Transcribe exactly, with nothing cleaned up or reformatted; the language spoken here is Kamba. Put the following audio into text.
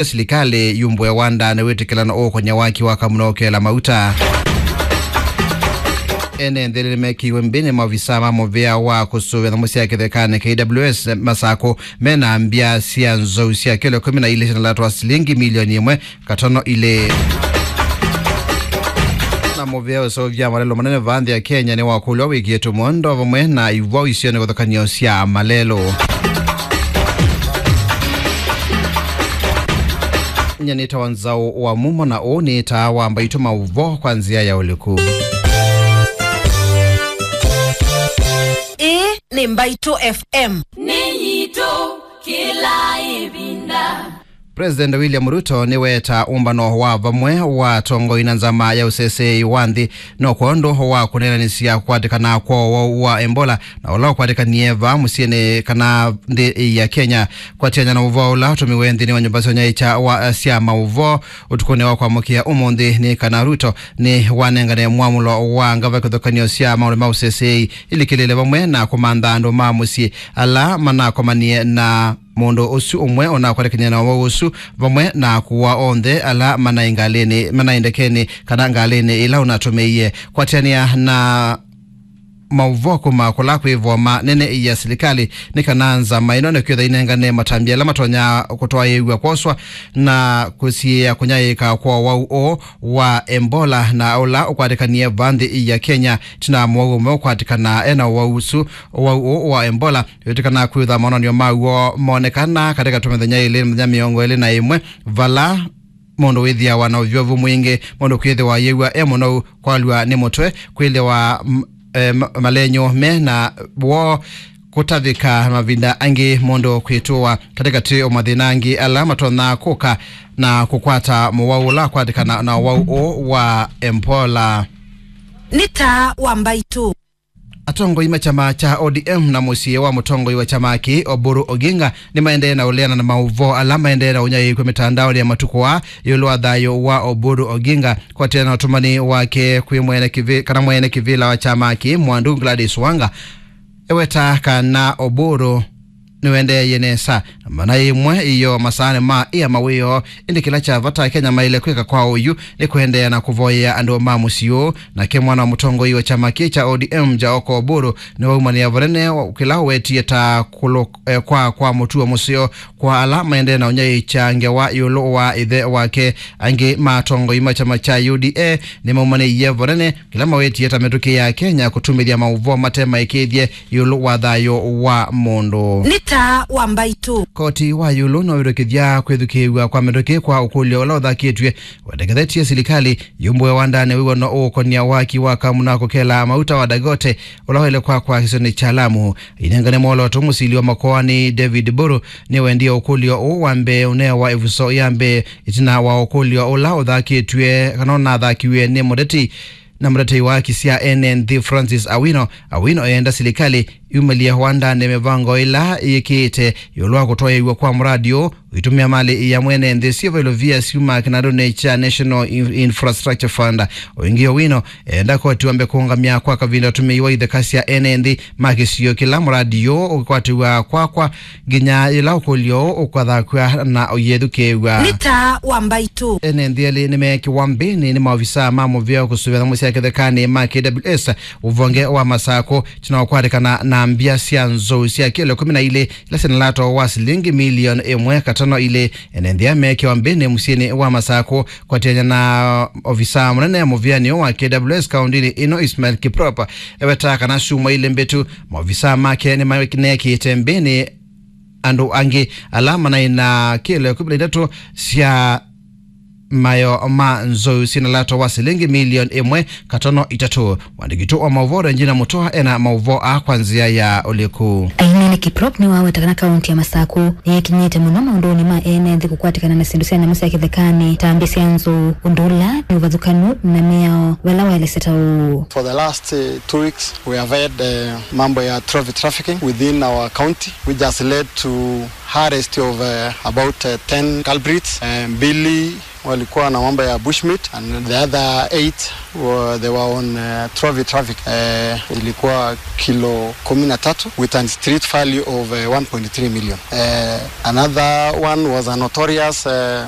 Silikalĩ yumbũe wanda nĩwĩtĩkĩlano ũũkonya waki wa kamuna ũkela mauta. Ene nthĩ nĩmekiwe mbĩnĩ maovisa ma mũvĩa wa kũsũvĩa nyamũ sya kĩthekanĩ, K W S, Masakũ, mena mbya sya nzou sya kĩlo ĩkũmi na ilĩ syĩna lato wa silingi milioni ĩmwe katono ilĩ. Na mũvĩa ũseũvya malelo manene vaa nthĩ ya Kenya nĩwakũlw'a wĩkĩĩtwe mũondo vamwe na ivwau isio nĩ kũthakanio sya malelo. Nyie nĩtawa Nzaũ wa Mumo, na ũũ nĩ taa wa Mbaitũ maũvoo kwa nzĩa ya ũliku. Ĩĩ nĩ Mbaitũ F M. Nĩ yitũ kĩla ĩvinda. President William Ruto nĩweetaa ũmbano wa vamwe wa atongoi na nzama ya ũseseei wa nthĩ no kwondũ wa kũneenanĩsya kũkwatĩkana kwa ũwau wa Ebola na ũla ũkwatĩkanie vaa mũsyĩnĩ kana nthĩ ya Kenya. Kwatĩanĩa na ũvoo ũla ũtũmiwe nthĩnĩ wa nyũmba sya ũnyaĩĩkya wa, eh, sya maũvoo ũtukũnĩ wa kwamũkĩa ũmũnthĩ, nĩ kana Ruto nĩwanengane mwamũlo wa ngava kĩthũkanĩo sya maũndũ ma ũseseei ilikĩlĩle vamwe na kũmantha andũ ma mũsyĩ ala manakomanie na mũndũ ũsu ũmwe ũnakwatĩkany'a na ũwau ũsu, vamwe na kũua onthe ala manaĩ ngalĩnĩ, manaĩ ndekenĩ kana ngalĩnĩ ĩla ũnatũmĩie. Kwatĩanĩa na maũvoo kuma kũla kwĩ voma nene ya silikalĩ, nĩ kana nzama ĩno nĩkwĩtha inengane matambya ala matonya kũtwaĩĩw'a kwoswa na kũsiĩĩa kũnyaĩĩka kwa ũwau ũũ wa Ebola na ũla ũkwatĩkanie vaa nthĩ ya Kenya. Tina mũwau ũmwe ũkwatĩkana ena ũwau ũsu, ũwau ũũ wa Ebola, wĩtĩkana kwĩtha monanio maw'o monekana katĩ ka tũmĩthenya ĩlĩ, mĩthenya mĩongo ĩlĩ na ĩmwe, vala mũndũ wĩthĩawa na ũvyũvu mwingĩ, mũndũ kwĩthĩwa ayĩw'a e mũnou, kwalw'a nĩ mũtwe, kwĩthĩwa m- eh, ma- malenyũ me na woo, kũtavĩka, mavinda angĩ mũndũ kwĩtũwa katĩkatĩ o mathĩna angĩ ala matonya kũka na kũkwata mũwau ũla akwatĩkana na ũwau ũũ wa Ebola. Nĩ taa wa Mbaitũ. Atongoi ma kyama kya O D M na mũsyĩ wa mũtongoi wa kyama kĩĩ, Oburu Oginga, nĩmaendee na ũleana na maũvoo ala maendee na ũnyaĩĩkw'a mĩtandaonĩ ya matukũ aa ĩũlũ wa thayũ wa Oburu Oginga, kwatĩana na ũtũmani wake kwĩ mwene kĩvĩ-, kana mwene kĩvĩla wa kyama kĩĩ, Mwandu Gladys Wanga. Eweta kana Oburu nĩwendeeie nesa na mana ĩmwe iyo masaanĩ ma ĩa mawĩoo, ĩndĩ kĩla kya vata Kenya maĩle kwĩka kwa oyu nĩ kũendeea na kũvoyea andũ ma mũsyĩ ũũ. Nake mwana wa mũtongoi wa kyama kĩĩ kya O D M, Jaoko Oburu, nĩwaumanĩa vanene wa kĩla ũwetie ta kũlũ-, eh, kwa, kwa mũtuo mũseo kwa ala maendee na ũnyaĩĩkya ngewa ĩũlũ wa ĩthe wake. Angĩ ma atongoi ma kyama kya U D A nĩmaumanĩie vanene kĩla mawetie ta mĩtũkĩ ya Kenya kũtumĩthya maũvoo mate maĩkĩĩthye ĩũlũ wa thayũ wa mũndũ. Nĩ taa wa Mbaitũ. Koti wa ĩũlũ no wĩtĩkĩthya kwĩthukĩĩw'a kwa mĩtũkĩ kwa ũkũlyo ũla ũthakĩtw'e wendekethetye silikalĩ yumbũe wandanĩ wĩw'ano ũũkonia waki wa kamuna kũkela mauta wa Dagote ũla waĩle kwakwa kĩsionĩ kya Lamu. Inengane mwolooto, mũsili wa makoani David Buru nĩwendie ũkũlyo ũũ wa mbee ũnewa ĩvuso ya mbee ĩtina wa ũkũlyo ũla ũthakĩtw'e kana ũnathakiw'e nĩ mũteti na mũtetei wa haki sya ene nthĩ Francis Awino. Awino eenda silikalĩ yumĩlye wandanĩ mĩvango ĩla yĩkĩĩte ĩũlũ wa kũtwaĩĩw'a kwa mũradi ũũ ũitũmĩa malĩ ya mwene nthĩ syĩva ilovia syuma kĩnandũnĩ kya National In-, Infrastructure Fund. O ĩngĩ, Owino eenda koti wambe kũũngamya kwa kavinda ũtũmĩi wa itheka sya ene nthĩ ma kĩsio kĩla mũradi ũũ ũkĩkwatĩw'a kwakwa nginya yĩla ũkũlyo ũũ ũkathakw'a na ũyĩthukĩĩw'a. Nĩ taa wa Mbaitũ. Ene nthĩ elĩ nĩmeekĩwa mbĩnĩ nĩ maovisaa ma mũvĩa kũsũvĩa nyamũ sya kĩthekanĩ ma K W S ũvonge wa Masakũ, tina ũkwatĩkana na mbya sya nzou sya kĩlo ĩkũmi na ilĩ ila syĩna lato wa silingi milioni ĩmwe katono ilĩ. Ene nthĩ meekĩwa mbĩnĩ mũsyĩnĩ wa Masakũ, kwatĩanĩa na ovisa mũnene mũvĩanĩ wa K W S kaũndĩnĩ ĩno, Ismail Kiprop, ewetaa kana syumwa ilĩ mbĩtu maovisa make nĩmanekĩte mbĩnĩ andũ angĩ ala manaĩ na kĩlo ĩkũmi na itatũ sya mayo ma nzou syĩna lato wa silingi milioni ĩmwe katono itatũ. Mwandĩki witũ wa maũvoo Regina Mutua ena maũvoo aa kwa nzĩa ya ũliku. Ainene Kiprop nĩwaweta kana kaunti ya Masakũ nĩyĩkinyĩte mũno maũndũnĩ ma ene nthĩ kũkwatĩkana na syĩndũ sya nyamũ sya kĩthekanĩ ta mbĩ sya nzou, ũndũ ũla nĩ ũvathũkanu na mĩao vala waelesya ta ũũ. For the last, uh, two weeks, we have had, uh, mambo ya trophy trafficking within our county, which has led to arrest of, uh, about, uh, ten culprits, uh, mbili walikuwa na mambo ya bushmeat, and the other eight were, they were on uh, trophy traffic. Uh, ilikuwa kilo kumi na tatu with a street value of uh, one point three million. Uh, another one was a notorious uh,